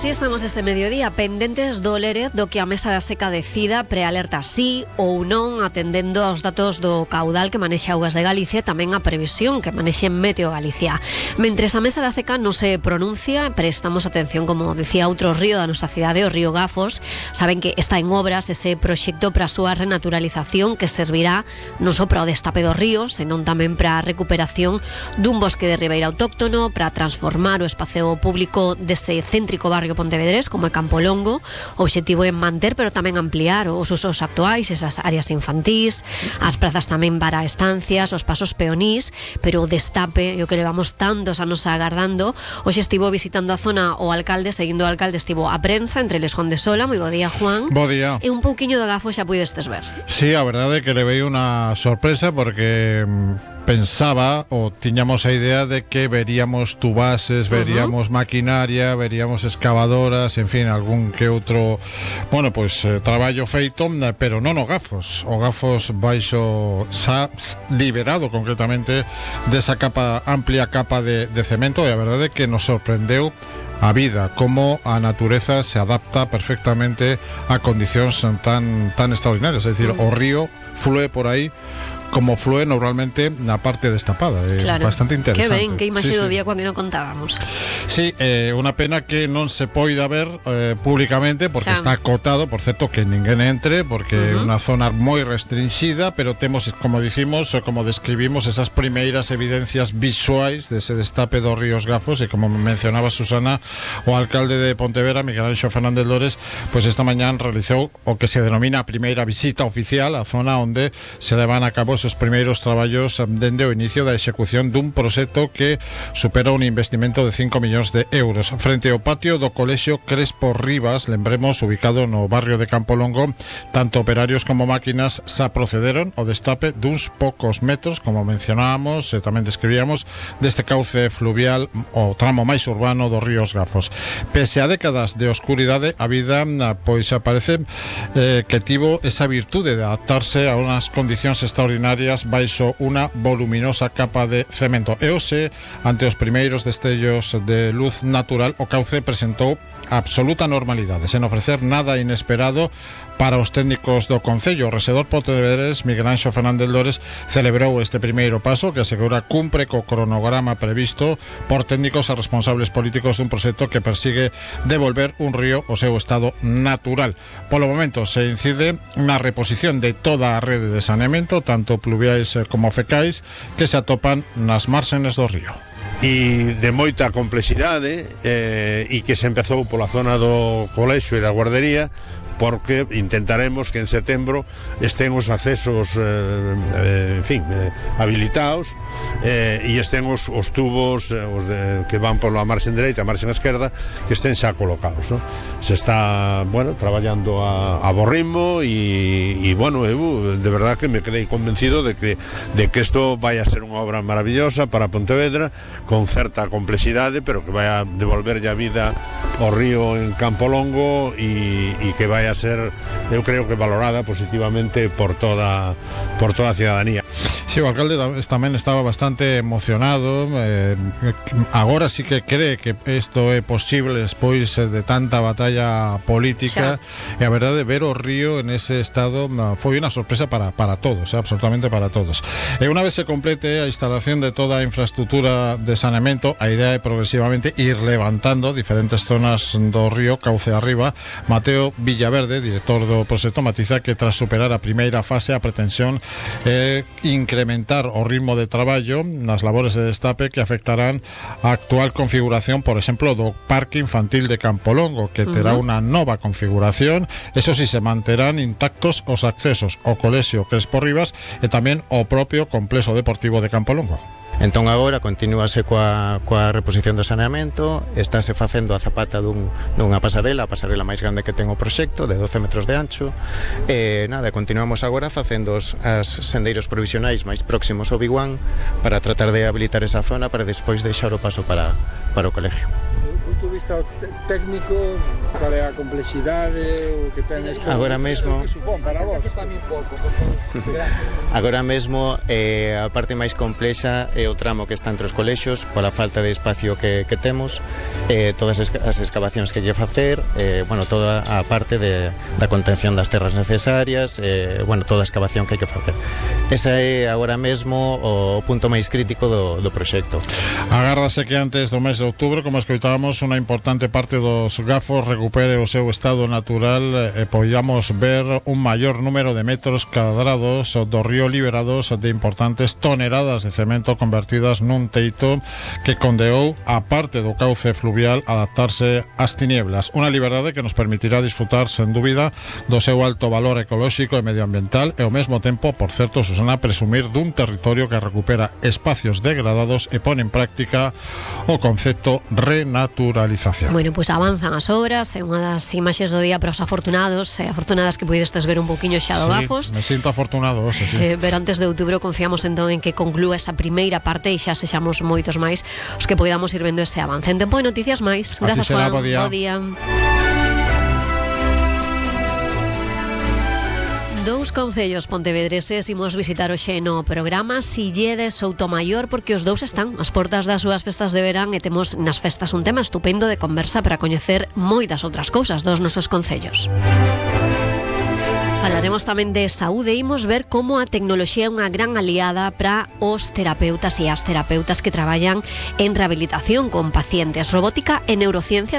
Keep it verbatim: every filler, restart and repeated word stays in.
Así estamos este mediodía, pendentes do Lérez do que a Mesa da Seca decida, prealerta sí ou non, atendendo aos datos do caudal que manexa Augas de Galicia e tamén a previsión que manexe Meteo Galicia. Mentres a Mesa da Seca non se pronuncia, prestamos atención, como decía outro río da nosa cidade, o río Gafos. Saben que está en obras ese proxecto para a súa renaturalización que servirá non só para o destape do río, senón tamén para a recuperación dun bosque de ribeira autóctono, para transformar o espacio público dese céntrico barrio pontevedrés como é Campolongo. O obxectivo é manter, pero tamén ampliar os usos actuais, esas áreas infantís, as prazas tamén para estancias, os pasos peonís, pero o destape, o que levamos tantos anos agardando. Hoxe estivo visitando a zona o alcalde, seguindo o alcalde estivo a prensa entre Les de Sola. Moi bo día, Juan. Bo día. E un pouquiño de Gafo xa puidestes ver. Sí, a verdade é que le veio unha sorpresa porque pensaba o tiñamos a idea de que veríamos tubases, veríamos uh-huh. maquinaria, veríamos excavadoras, en fin, algún que outro, bueno, pois pues, eh, traballo feito, pero non o Gafos. O Gafos baixo xa liberado concretamente desa capa, amplia capa de, de cemento, e a verdade é que nos sorprendeu a vida, como a natureza se adapta perfectamente a condicións tan tan extraordinarias, é dicir, uh-huh. o río flúe por aí como flúe normalmente na parte destapada. É claro. Bastante interesante. Que ben, que imaxe sí, do sí. día cando non contábamos. Sí, eh, unha pena que non se poida ver eh, públicamente porque xa. Está acotado, por certo, que ninguén entre porque é uh-huh. unha zona moi restringida, pero temos, como dicimos, como describimos, esas primeiras evidencias visuais dese destape dos ríos Gafos, e como mencionaba Susana, o alcalde de Pontevedra, Miguel Anxo Fernández Lores, pois pues esta mañán realizou o que se denomina a primeira visita oficial á zona onde se levan a cabo os primeiros traballos dende o inicio da execución dun proxecto que supera un investimento de cinco millóns de euros. Frente ao patio do Colexio Crespo Rivas, lembremos, ubicado no barrio de Campolongo, tanto operarios como máquinas xa procederon ao destape duns poucos metros, como mencionábamos e tamén describíamos, deste cauce fluvial, o tramo máis urbano dos ríos Gafos. Pese a décadas de oscuridade, a vida pois aparece eh, que tivo esa virtude de adaptarse a unhas condicións extraordinarias baixo unha voluminosa capa de cemento. E hoxe, ante os primeiros destellos de luz natural, o cauce presentou absoluta normalidade, sen ofrecer nada inesperado para os técnicos do Concello. O rexedor pontevedrés Miguel Anxo Fernández Lores celebrou este primeiro paso que asegura cumpre co cronograma previsto por técnicos e responsables políticos dun proxecto que persigue devolver un río ao seu estado natural. Polo momento se incide na reposición de toda a rede de saneamento, tanto pluviais como fecais, que se atopan nas márgenes do río. E de moita complexidade eh, e que se empezou pola zona do colexio e da guardería, porque intentaremos que en setembro estén os accesos eh, eh, en fin, eh, habilitados eh, e estén os, os tubos eh, os de, que van pola marxen dereita, a marxen esquerda, que estén xa colocados, ¿no? Se está, bueno, traballando a, a bo ritmo e, e bueno, eu de verdad que me quedei convencido de que de que isto vai a ser unha obra maravillosa para Pontevedra, con certa complexidade, pero que vai a devolver a vida ao río en Campolongo e, e que vai a ser, eu creo que valorada positivamente por toda por toda a cidadanía. Sí, o alcalde tamén estaba bastante emocionado, eh, agora sí que cree que isto é posible despois de tanta batalla política, xa. E a verdade, ver o río en ese estado foi unha sorpresa para, para todos, eh, absolutamente para todos. E unha vez se complete a instalación de toda a infraestructura de saneamento, a idea é progresivamente ir levantando diferentes zonas do río cauce arriba. Mateo Villaverde, director do proxecto, matiza que tras superar a primeira fase a pretensión é incrementar o ritmo de traballo nas labores de destape que afectarán a actual configuración, por exemplo, do Parque Infantil de Campolongo, que terá uh-huh. unha nova configuración. Eso si, se manterán intactos os accesos ao Colexio Crespo Rivas e tamén ao propio complexo deportivo de Campolongo. Entón agora continúase coa, coa reposición do saneamento, estáse facendo a zapata dun, dunha pasarela, a pasarela máis grande que ten o proxecto, de doce metros de ancho, e nada, continuamos agora facendo os as sendeiros provisionais máis próximos ao Biguán para tratar de habilitar esa zona para despois deixar o paso para, para o colegio. punto de vista técnico, cal é a complexidade o que ten isto? Agora mesmo, que supón para vos? agora mesmo eh, a parte máis complexa é o tramo que está entre os colexios pola falta de espacio que, que temos, eh, todas as, as excavacións que hai que facer, eh, bueno, toda a parte de, da contención das terras necesarias, eh, bueno, toda a excavación que hai que facer. Esa é agora mesmo o punto máis crítico do, do proxecto. Agárdase que antes do mes de outubro, como escoitábamos, unha importante parte dos gafos recupere o seu estado natural e podamos ver un maior número de metros cadrados do río liberados de importantes toneladas de cemento convertidas nun teito que condeou a parte do cauce fluvial adaptarse ás tinieblas. Unha liberdade que nos permitirá disfrutar, sen dúbida, do seu alto valor ecolóxico e medioambiental e ao mesmo tempo, por certo, Susana, presumir dun territorio que recupera espacios degradados e pone en práctica o concepto renaturalización. Bueno, pois pues avanzan as obras, é unha das imaxes do día para os afortunados e afortunadas que puidestes ver un poquinho xa do sí, Gafos. Me sinto afortunado, sí, sí. Eh, pero antes de outubro confiamos entón en que conclúa esa primeira parte e xa sexamos moitos máis os que poidamos ir vendo ese avance. En tempo de noticias máis. Grazas, será, Juan. bo día. Bo día. Dous concellos pontevedreses imos visitar hoxe no programa, Silleda e Soutomaior, porque os dous están ás portas das súas festas de verán e temos nas festas un tema estupendo de conversa para coñecer moitas outras cousas dos nosos concellos. Falaremos tamén de saúde e imos ver como a tecnoloxía é unha gran aliada para os terapeutas e as terapeutas que traballan en rehabilitación con pacientes. Robótica e neurociencia